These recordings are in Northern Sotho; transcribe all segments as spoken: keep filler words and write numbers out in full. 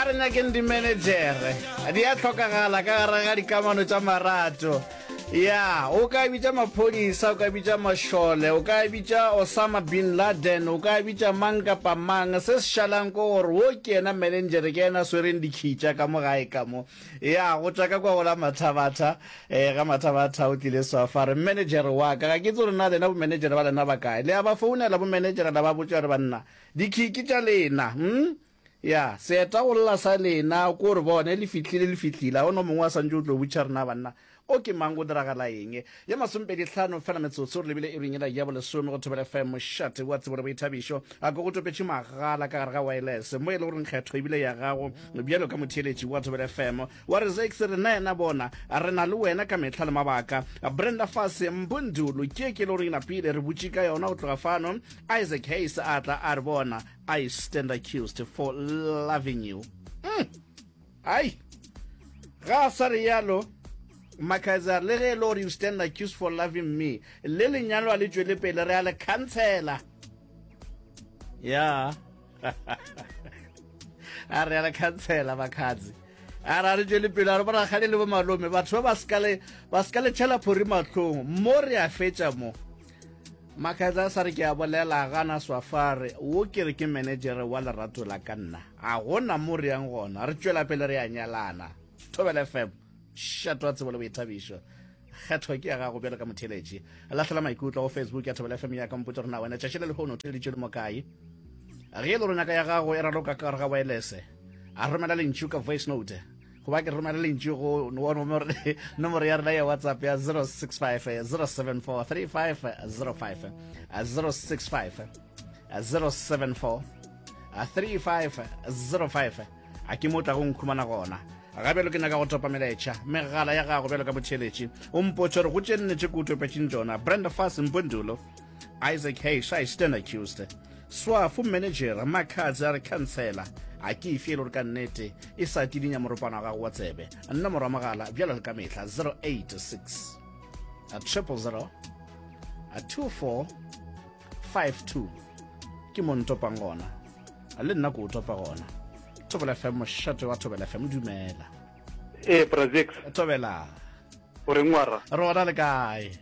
A re nyakeng dimenejere, di a hlokagala ka gare ga dikamano tša marato. Ya, o ka bitša maphodisa, o ka bitša mašole, o ka bitša Osama Bin Laden, o ka bitša mang kapa mang. Se se šalang ke gore wo ke yena menenjere, ke yena a swereng dikhitša ka mo gae ka mo. Ya, go tšwa ka kwa go la Mathabatha, eh, ga Mathabatha o tlile swafa, a re, Mmenejere wa ka, ga ke tsebe gore na lena bomenejere ba lena ba kae. Le a ba founela bomenejere la ba botša gore banna, dikhii ke tša lena, hm? Ya, seeta go lla sa lena, ko re bone, le fihlile, le fihlile. Ga go no mongwe a santše o tlo botša rena banna, o ke mang, go diragala eng. Ye masomepedi hlano fela metsotso, re lebile iring yela ya bolesome go Thobela F M, mošate wa tsebo le boithabišo. A ko go topetše magala ka gare ga wireless, mo e le goreng kgetho ebile ya gago bjalo ka motheeletši wa Thobela F M. Wa re Zakes, rena yena bona, re na le wena ka mehla le mabaka. Brenda Fassie, Mbundulu, ke ke e le goreng e napile, re butše ka yona go tloga fano. Isaac Hayes a tla a re bona, I stand accused for loving you. Mm. Ai, ga a sa rialo, Makaizer, le ge e le gore you stand accused for loving me, le lenyalo a le tšwele pele, re a le khansela. Ya. A re a le khansela, Makhadzi. A re a re tšwele pele, a re borakgadi le bomalome, batho ba ba ska le, ba ska le tšhela phori mahlong, mo re a fetša mo. Makhadzi a sa re ke a bolela, gana Swafare, wo ke re ke managere wa lerato la ka nna. Ga gona mo re yang gona, re tšwela pele re a nyalana. Thobela F M, šato wa tsebo le boithabišo. Kgetho ke ya gago bjalo ka motheeletši. Lahlela maikutlo go Facebook ya Thobela F M ya ka, mpotše gore na wena tšatši le lehono o theeleditše le mo kae. Ge e le gore nyaka ya gago e raloka ka gare ga wireless, a romela lentšu ka voice note. Goba ke romela lentšu go nomoro ya rena ya WhatsApp ya zero six five zero seven four three five zero five, zero six five zero seven four three five zero five. A ke mo tlago nkhumana gona. Ga bjalo ke nyaka go topa melaetša megala ya gago bjalo ka motheeletši. O mpotše gore go tše nne tše ke o topetšeng tšona. Brenda Fassie, Mbundulo, Isaac Hayes, I stand accused. Swafu manager Makhadzi a re khansela a ke efe e le gore ka nnete e sa tidinya moropana wa gago wa tsebe. Nomoro ya mogala bjalo le ka mehla zero eight six triple zero two four five two ke mo ntopang gona, le nna ke o topa gona. Thobela F M, mošate wa Thobela F M, dumela. Ee, Brazix. Thobela. O reng wara? Re gona le kae?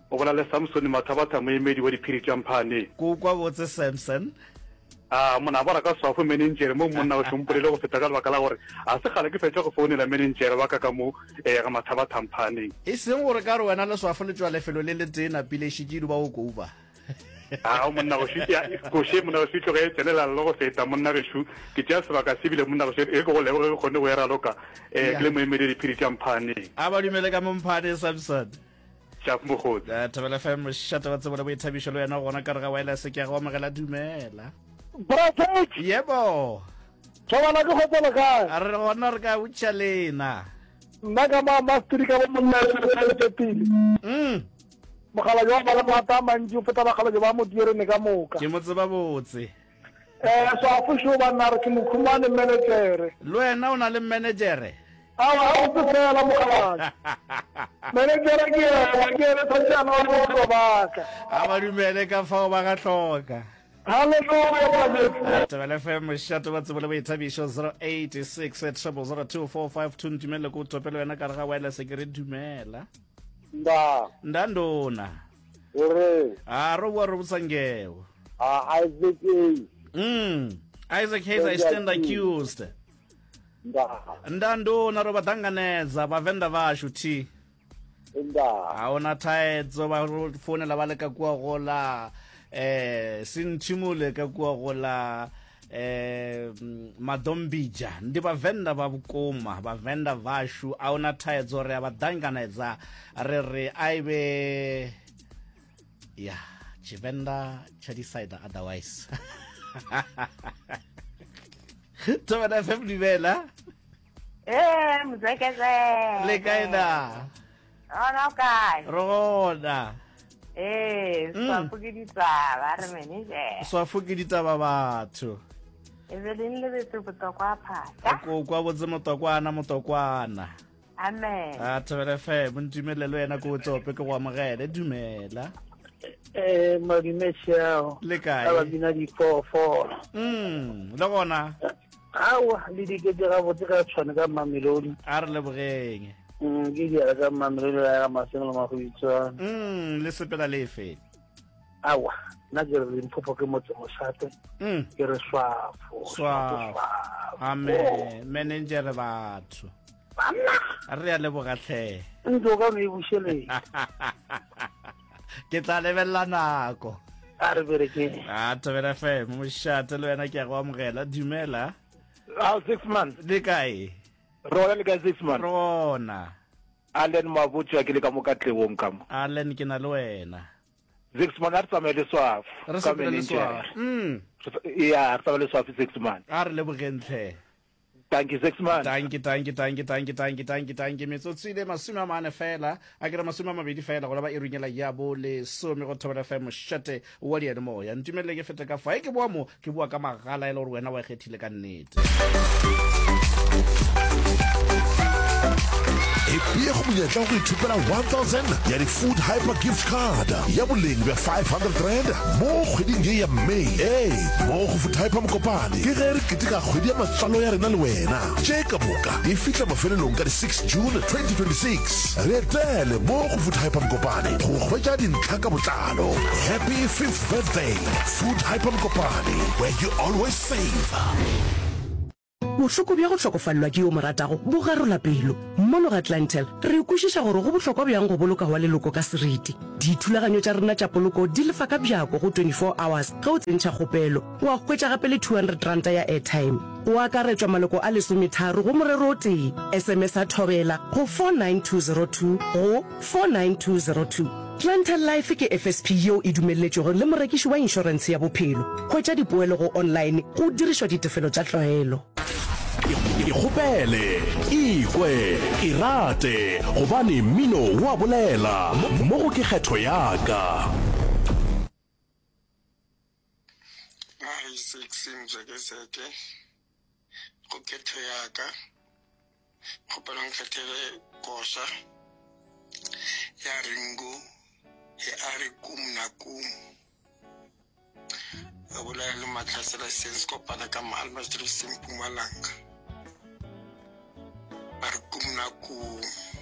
O bolela le Samson Mathabatha, moemedi wa diphiri tša Mphane. Ko kwa botse Samson. A mona ba raka swafo menenjere mo monna o hlompolele go feta ka lebaka la gore a se kgale ke fetša go founela menenjere wa ka ka mo eh, ga Mathabatha Mphaneng. E seng gore ka re wena le swafo le tšwa lefelo le letee napile e šetše e duba go kouba. A monna go ši, ya, koše monna go ši tloge e tsenela le go feta monna gešo. Ke tšea sebaka se bile monna gešo e ke go leboge ke kgone go e raloka eh, ke le moemedi wa diphiri tša Mphaneng. A ba dumele ka mo Mphane Samson. Tšap mokgotsi. Eh, Thobela F M, mošate wa tsebo le boithabišo le wena gona ka re ga wireless ke a go amogela dumela. Bra Jake. Yebo. Thobela ke kgotsa le kae? A re gona re ka botša lena. Nna ka ma masteri ka bo monna le le le pele. Mm. Mokgalabje wa ba le maata a mantši o feta bakgalabje ba modierene ka moka. Ke mo tseba botse. Eh, swafo šo banna re ke mokhumane manager. Le wena o na le manager? Aowa, ga botse fela mokgalabje. Manager ke yena, ke yena tshwanetse a laole bophelo ba ka. A ba dumele ka fao ba ga hloka. Hallelujah, Brazil. Thobela F M, mošate wa tsebo le boithabišo, zero eight six triple zero two four five two. Ntumelele ko tope le wena ka re ga wireless ke re dumela. Nda. Nda ndona. O re. A ro bua ro botsa ngeo. A Isaac Hayes. Mm. Isaac Hayes, I stand accused. Nda. Nda ndona ro vha ṱanganedza vhavenḓa vhashu thi. Nda. A huna thaidzo vha ro founela vha le ka kua gola eh sinthimule ka kua gola eh Madombija ndi vhavenḓa vha vhukuma vhavenḓa vhashu a huna thaidzo ri a vha ṱanganedza ri ri a i vhe ya Tshivenḓa tsha decide otherwise. Thobela F M dumela. Eh, mzekeze. Le kae na? Ona o kae? Re gona. Eh, Mm. swafo ke ditaba, re manager. Swafo ke ditaba batho. E be le lebetse botokwa phata. Ko kwa botse motokwana motokwana. Amen. A Thobela F M ntumelele le wena ko tope ke go amogele dumela. Eh, madume tšhao. Le kae? Ba bina diphoofolo. Mm, le gona. Aowa, le dikete gabotse ka tshwane ka Mamelodi. A re lebogeng. Mm, ke diala ka Mamelodi la ga Maseng le Magoitswane. Mm, le sepela lefe? Aowa, nna ke re Limpopo ke motse mošate. Mm. Ke re swafo. Swafo. Amen. Manager batho. Banna. Re a leboga tlhe. Ntlo ka no e bušeletša. Ke tla lebelela nako. A re berekeng. A Thobela F M, mošate le wena ke a go amogela. Dumela. Ao, six months. Le kae? Rona le kae six months? Rona. Allen Mabotja ke le ka mo Katlehong ka mo. Allen ke na le wena. Six months a re tsamaye le swafo. Re sepele le swafo. Mm. Ya, re tsamaye le swafo six months. A re lebogeng tlhe. Thank you, six months. Thank you, thank you, thank you, thank you, thank you, thank you, thank you. Metsotso ile masome a mane fela, a ke re masome a mabedi fela go leba e runyela ya bo lesome go Thobela F M mošate wa diyalemoya. Ntumelele ke fete ka fa. E ke boa mo, ke boa ka magala e le gore wena wa e kgethile ka nnete. Epee go monyetla wa go ithopela one thousand ya di-Food Hyper Gift Card ya boleng bja five hundred rand mo kgweding ye ya May. Ee, mo go Food Hyper Mokopane ke ge re keteka kgwedi ya matswalo ya rena le wena. Tše ka moka di fihla mafelelong ka di six June twenty twenty-six. Re etele mo go Food Hyper Mokopane go hwetša dintlha ka botlalo. Happy fifth birthday, Food Hyper Mokopane, where you always save. Bohloko bja go hlokofalelwa ke yo mo ratago bo garola pelo. Mono ga Clientele, re kwešiša gore go bohlokwa bjang go boloka wa leloko ka seriti. Dithulaganyo tša rena tša poloko di lefa ka bjako go twenty-four hours ge o tsentšha kgopelo. Wa hwetša gape le two hundred ranta ya airtime. Go akaretšwa maloko a lesometharo go morero o tee. S M S a thobela go four nine two zero two go four nine two zero two. Clientele Life ke F S P yeo e dumelletšwego le morekiši wa inšorentshe ya bophelo. Hwetša dipoelo go online go dirišwa ditefelo tša tlwaelo. Ikgopele, ikwe, irate, gobane mmino wa bolela. Mo go ke kgetho ya ka. Ai, six mjekeseke go kgetho ya ka. Kgopela nkgethele koša ya Ringo e a re kum na kum. A bolela le Mahlasela Sense kopana ka Maalmastrix Mpumalanga.